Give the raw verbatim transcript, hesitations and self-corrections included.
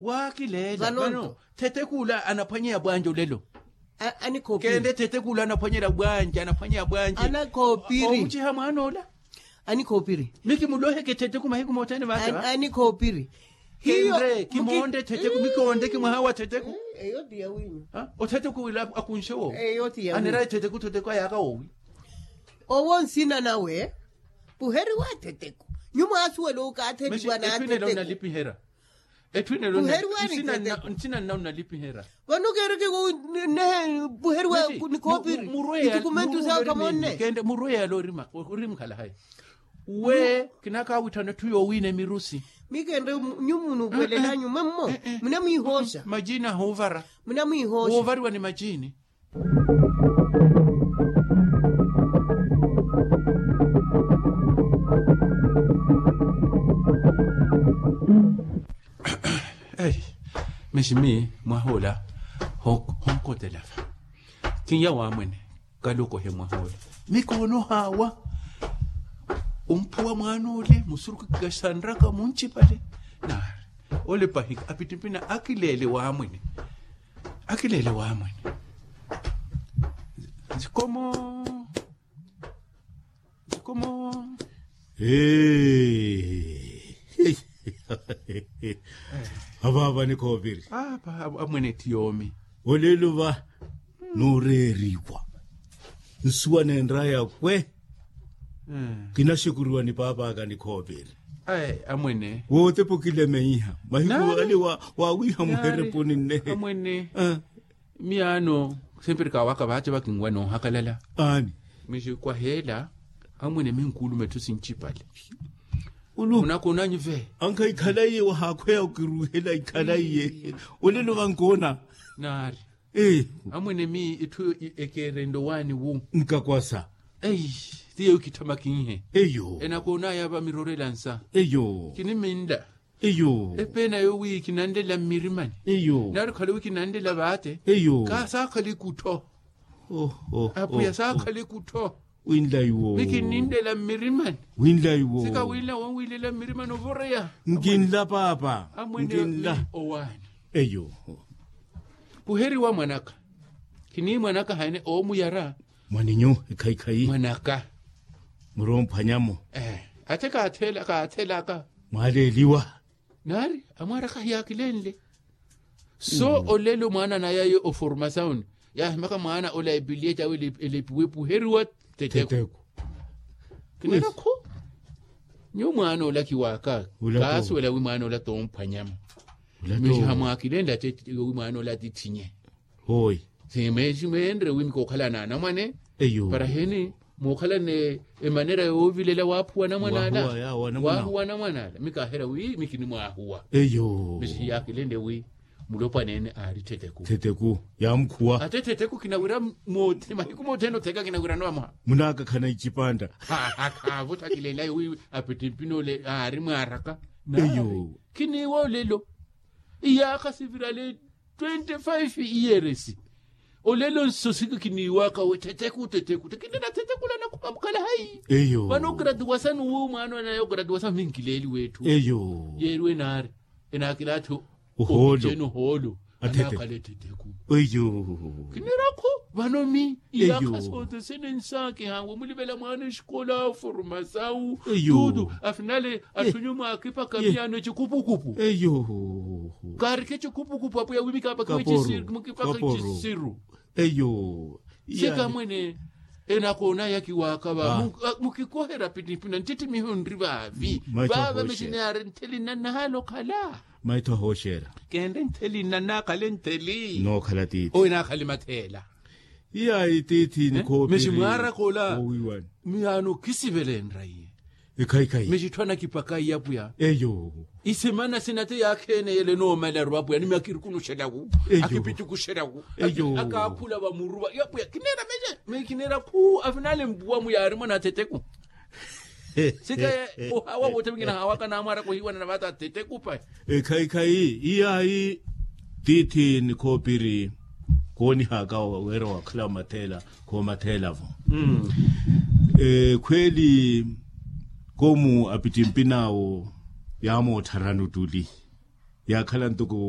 Waakileela vano. Thetekula anaphwanyeya bwanja olelo. Keende thetekula anaphwanyela bwanja anaphwanyeya bwanja. Omuciha mwaan'ola. Anikhoopiri. Mikimuloheke theteku mahiku mothene vaata. Anikhoopiri. Hiyo. Kimoonde theteku mikiwoonde kimwaha wa theteku. Eyo ti ya winyu. Otheteku wila akunxe wowi. Eyo ti ya winyu. Anera etheteku theteku ayaaka wowi. Owo nsina nawe. Puheriwa theteku. Nyumo asuwela okaatheliwa na theteku. Etthu inela onalipiherya. Etthu inela onalipiherya. Vano keereke nehe puheriwa. Nikhoopiri. Itukumentu sawe khamonne. Kende murweya yala orima orimukhala hayi. We kinakaawitthana etthu yoowiina emirusi. Mikende nyumu nuuvelela nyume mmo. Munamwiihooxa. Majini ahuuvara. Munamwiihooxa. Woovariwa ni majini. Ei, meximi mwahoola. Honkotela va. Kinya waamwene. Kala okohe mwahoola. Mikoono haawa. Omphuwa mwaana ole musurukhu kikaxanraka muncipale. Naari ole pahika apittimpina akileele waamwene. Akileele waamwene. Nzikomo. Nzikomo. Avaava nikhooviri. Amwene etthu yoomi. Olelo va nooreeriwa. Nsuwa neenraya kwe. Kinaxukuriwa ni paap'aka nikhooviri. Amwene. Wootepa okilemeiha mahiku ale waawiiha muherepuni nnehe. Amwene. Miyaano. Semperi kaawaka vaace vakinwa noohakalala. Aani. Mixi kwaheela. Amwene minkuuluma etthu sincipale. Munakonanyu ve. Ankha ikhalaiye wahaakhweya okiruuhela ikhalaiye. Olelo vankoona. Naari. Amwene mi etthu ekeerenle owaani wu. Nkakwasa. Ei. Ti yeeyo kitthamaki nhe. Eyo. Enakoonaya vamirorela nsa. Eyo. Kiniminla. Eyo. Epeena yo wi kinanlela mmirimani. Eyo. Nari okhale wi kinanlela vaate. Eyo. Kaasaakhala ikuttho. Apuya saakhala ikuttho. Winlayi wo. Mikinninlela mmirimani. Winlayi wo. Sikawinla wonwilela mmirimani ovoreya. Nkinla paapa. Amwene. Owaani. Eyo. Puheriwa mwanaka. Kini mwanaka haene oomuyara. Mwaninyu. Ekhayikhayi mwanaka. Muromphwanyamo. Ate kaathelaka. Mwaaleeliwa. Naari amwaaraka hiyaakilenle. So olelo mwaana nayaye oformasauni yaahimaka mwaana ola epiliye cawe elepiwe puheriwa. Teteku. Kineera khu. Nyuwo mwaana ola kiwaaka. Kaasuwela wi mwaana ola toomphwanyamo. Mixiha mwaakilenle ate wi mwaana ola atithinye. Hooyi. Simeexi meenre wi mikookhalana anamwane. Eyo. Para heni mookhalane emanera yoovilela waaphuwa anamwane ala. Waahuwa anamwane ala mikaaherya wi mikinimwaahuwa. Eyo. Mixi hiyaakilenle wi mulopwaneene aari theteku. Theteku. Yaamukhuwa ate theteku kinawira mahiku mothene otheka kinawirano vamoha. Munaakakhana icipanda. Khaavo thakilenlayo wi apittimpina ole aari mwaaraka. Eyo. Kiniiwa olelo. Iyaakha sivirale twenty five years. Olelo nso siki kiniiwaka we theteku theteku kinena theteku lana khupamukhala hayi. Vano ogratuwasani wi mwaana onaye ogratuwasani minkileeli wetthu. Yeeriwe naari enaakilaatthi. Ohoolo. Ohoolo. Anaakhala etheteku. Kinera khu. Vano mi iyaakha sothesene nsaakiha wamulivela mwaana exikola formasawu tutu afinale atthunyu mwaakipaka miyaano ecikupukupu. Kaarikhe ecikupukupu apo yawimika apakiwe ecisiru. Sika mwene enakoonaya kiwaaka va mukikoherya pinipina ntittimiho nri vaavi. Vaava mexini yaari ntheli nnannahala okhala. Maitho ahooxera. Kenre ntheli nnannakhale ntheli. Nookhala tiithi owe naakhale matheela. Iyayi tiithi nikhoopiri. Mexi mwaaraka ola miyaano khisivele nraiye. Ekhaikhayi mexi itthu anakipaka iyapwiya. Eyo. Isemana sina te yaakheene yele noomalaru apwiya ni makirikunuxelaku. Akipitukuxelaku. Akaakhula vamuruva yapwiya kineera mexe mekineera khu afinale mpuwa muyaari mwana athetheku. Sika ohawa woothe mukina hawaka naamwaraka ohiiwana na vaata athetheku pahi. Ekhaikhayi iyayi tiithi nikhoopiri. Koonihaka weera wakhala matheela. Khoomatheela-vo. Ekhweeli koomu apittimpin'awo yaamootharani ottuli. Yaakhala ntoko